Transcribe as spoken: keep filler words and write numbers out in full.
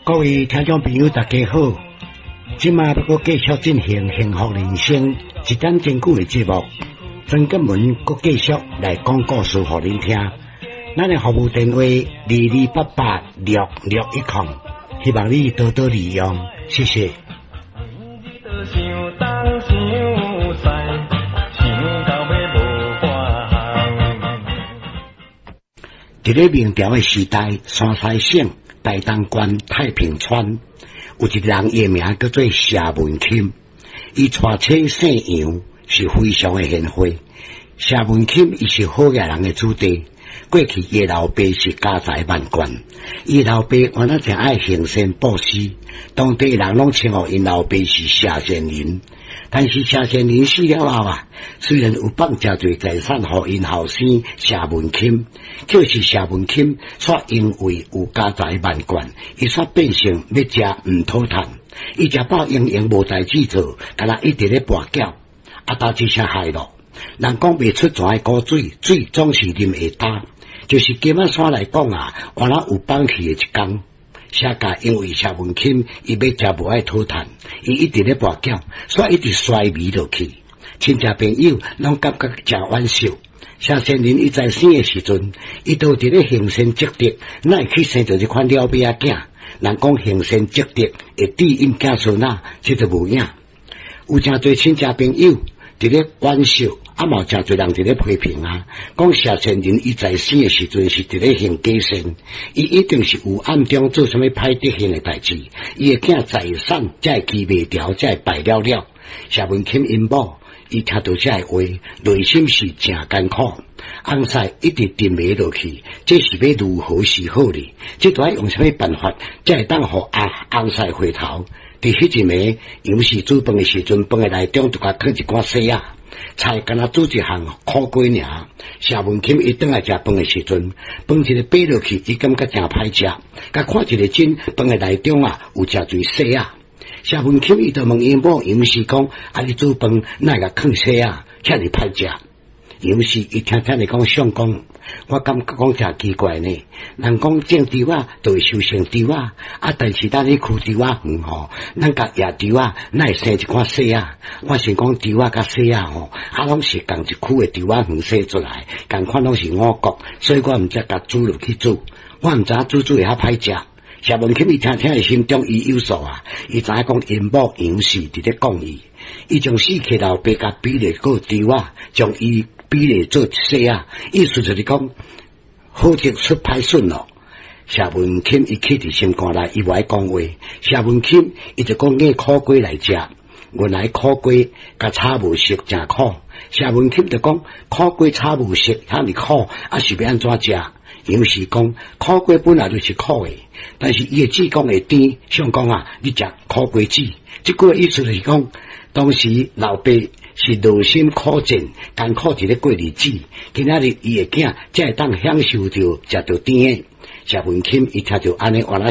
各位聽眾朋友，大家好！這馬欲閣繼續進行幸福人生一點真久的節目，曾建文閣繼續來講故事予恁聽。咱的服務電話二二八八六六一空，希望你多多利用，謝謝。想東想西，想到尾無半項。佇咧明朝的時代，山西省台東縣太平村有一個人，伊的名叫做謝文欽，伊娶妻姓楊，是非常的賢惠。謝文欽伊是好額人的子弟，過去伊的老爸是家財萬貫，伊老爸原來誠愛行善布施，當地人攏稱呼𪜶老爸是謝善人。但是謝善人死了後啊，雖然有放誠濟財產予𪜶後生謝文欽，可是謝文欽卻因為有家財萬貫，伊煞變成欲食毋討趁，伊食飽閒閒無代誌做，敢若一直咧跋筊，啊，焦這聲害咯。人講袂出泉的古水，水總是啉會焦，就是金仔山來講啊，原來有放棄的一工。謝家因為謝文欽伊欲食無愛討趁，伊一直咧跋筊，所以一直衰微落去。親戚朋友攏感覺誠惋惜。謝善人伊在生的時陣，伊都佇咧行善積德，哪會去生著這款了尾仔囝？人講行善積德會致蔭子孫仔，這就無影。有誠濟親戚朋友佇咧惋惜，啊嘛有誠濟人佇咧批評啊，講謝善人伊在生的時陣是佇咧行假善，伊一定是有暗中做啥物歹德行的代誌，伊的囝財產才會記袂牢，才會敗了了。謝文欽𪜶某，伊聽著這个話，內心是誠艱苦。翁婿一直沉迷落去，這是欲如何是好呢？這著愛用啥物辦法，才會當予阿翁婿回頭？佇彼一暝，楊氏煮飯的時陣，飯的內中就共囥一寡細仔菜，敢若煮一項苦瓜爾。謝文欽伊轉來食飯的時陣，飯一个掰落去，伊感覺誠歹食。共看一个真，飯的內中啊有誠濟細仔。謝文欽伊就問𪜶某楊氏講：啊，你煮飯哪會共囥細仔，遮爾歹食？楊氏伊聽聽你講相公，我感覺講誠奇怪呢。人講種稻仔就會收成稻仔，啊，但是咱咧區稻仔園吼，咱共野稻仔哪會生一寡細仔？我想講稻仔佮細仔吼，啊，攏是仝一區的稻仔園生出來，仝款攏是五穀，所以我毋才共煮落去煮，我毋知影煮煮會較歹食。謝文欽伊聽聽伊心中伊有數啊，伊知影講𪜶某楊氏佇咧講伊，伊將死去老爸共比例過稻仔，將伊比例做細仔，意思就是講好德出歹孫咯。謝文欽伊氣佇心肝內，伊無愛講話。謝文欽伊就講挵苦瓜來食，原來苦瓜共炒無熟，誠苦。謝文欽就講苦瓜炒無熟，遐爾苦，啊是欲按怎食？楊氏講苦瓜本來就是苦的，但是伊的籽講會甜，相公啊，你食苦瓜籽。這句意思就是講，當時老爸是勞心苦戰，艱苦佇咧過日子，今仔日伊的囝才會當享受著食著甜的。謝文欽伊聽著按呢，原來。